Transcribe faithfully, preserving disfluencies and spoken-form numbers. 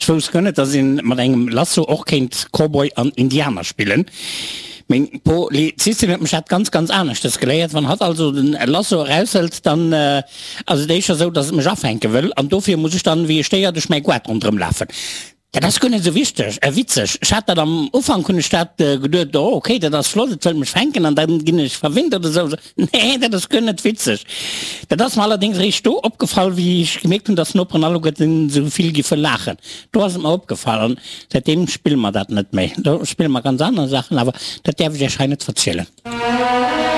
wousst guer net, dass een mat engem Lasso och kéint Cowboy an Indianer spillen. Meng Polizistin huet mech dat ganz, ganz aneschtes geléiert. Wann hatt also den Lasso eraushëlt, dann ass et éischter esou, dass et mech afänke wëll, an dofir muss ech dann wéi e Stéier duerch mäi Goart ronderëm lafen. Dat ass guer net esou wichteg, äh witzeg. Ech hat dat am Ufank hunn ech dat geduet, oh okay, dat ass flott, et wëllt mech fänken an dann ginn ech verwinnt oder esou. Nee, dat ass guer net witzeg. Dat ass mer allerdéngs eréischt do opgefall, wéi ech gemierkt hunn, dass d'Noperen alleguerten esou vill giffe laachen. Do ass et mer opgefall an säitdeem spille mer dat net méi. Do spille mer ganz aner Saachen, awer dat däerf ech iech hei net verzielen.